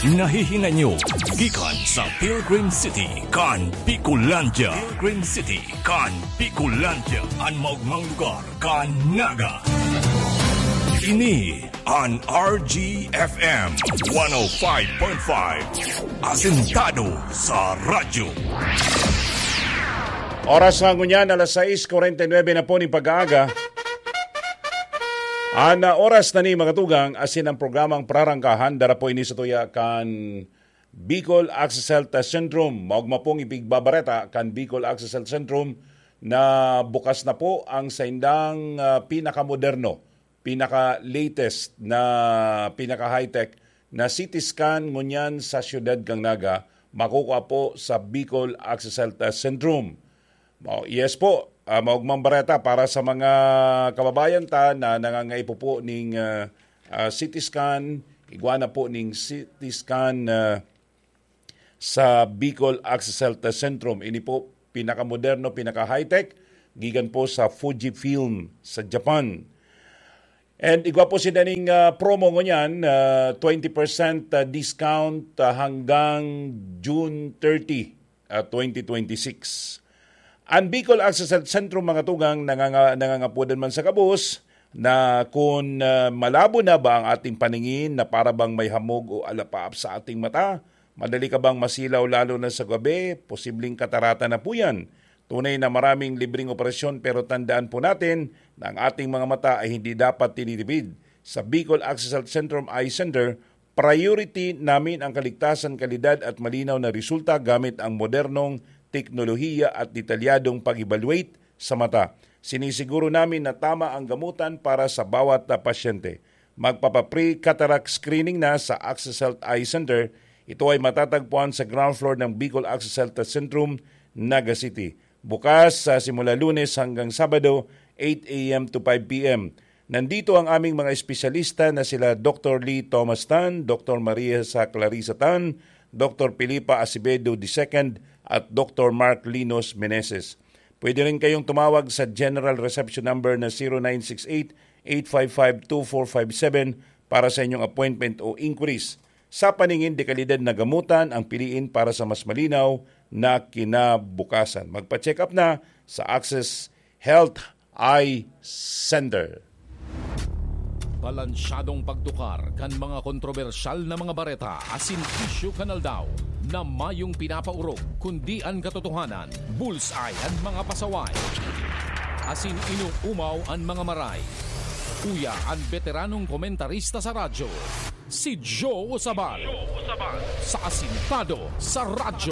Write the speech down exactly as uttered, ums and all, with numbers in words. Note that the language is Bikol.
Nahihinay nyo gikan sa Pilgrim City kan Bicolandia. Pilgrim City kan Bicolandia, an maogmang lugar kan Naga. Ini an R G F M one oh five point five, asentado sa radyo. Oras na ngunyan, alas sais kuwarenta y nuebe na po nin pag-aaga. An, ah, oras na ni mga tugang, asin ang programang prarangkahan, dara po ini sa tuya kan Bicol Access Health Centrum. Maogma pong ipigbabareta kan Bicol Access Health Centrum na bukas na po ang saindang, ah, pinakamoderno, pinaka-latest na, pinaka-high-tech na C T scan ngunyan sa siyudad kan Naga, makukuha po sa Bicol Access Health Centrum. Mao, yes po, ah, maogmang bareta para sa mga kababayan ta na nangangaipo po ning, ah, ah, C T scan, igwa na po ning C T scan, ah, sa Bicol Access Health Centrum. Ini po pinakamoderno, pinaka-high-tech, gikan po sa Fujifilm sa Japan. And igwa po sinda ning, ah, promo ngunyan, ah, twenty percent, ah, discount, ah, hanggang June thirty, ah, twenty twenty-six. An Bicol Access Health Centrum, mga tugang, nanganga-, nangangapodan man sa gabos na kun, ah, malabo na ba ang ating paningin na para bang may hamog o alapaap sa ating mata, madali ka bang masilaw lalo na sa gabi? Posibleng katarata na po yan. Tunay na maraming libreng operasyon, pero tandaan po natin na ang ating mga mata ay hindi dapat tinitipid. Sa Bicol Access Health Centrum Eye Center, priority namin ang kaligtasan, kalidad at malinaw na resulta gamit ang modernong teknolohiya at detalyadong pag-evaluate sa mata. Sinisiguro namin na tama ang gamutan para sa bawat, ah, pasyente. Magpapa-pre-cataract screening na sa Access Health Eye Center. Ito ay matatagpuan sa ground floor ng Bicol Access Health Centrum, Naga City. Bukas sa simula Lunes hanggang Sabado, eight a m to five p m. Nandito ang aming mga espesyalista na sila Doktor Lee Thomas Tan, Doktor Maria sa Clarissa Tan, Doktor Filipa Acevedo the second, at Doktor Mark Linos Meneses. Pwede rin kayong tumawag sa general reception number na zero nine six eight, eight five five, two four five seven para sa inyong appointment o inquiries. Sa paningin de kalidad na gamutan ang piliin para sa mas malinaw na kinabukasan. Magpa-check up na sa Access Health Eye Center. Balansyadong pagtukar kan mga kontrobersyal na mga bareta asin isyu kan aldaw na mayong pinapaorog, kundi an katotohanan, bullseye an mga pasaway, asin inoomaw an mga maray. Uya an beteranong komentarista sa radyo, si Joe Usabal, sa Asintado sa Radyo.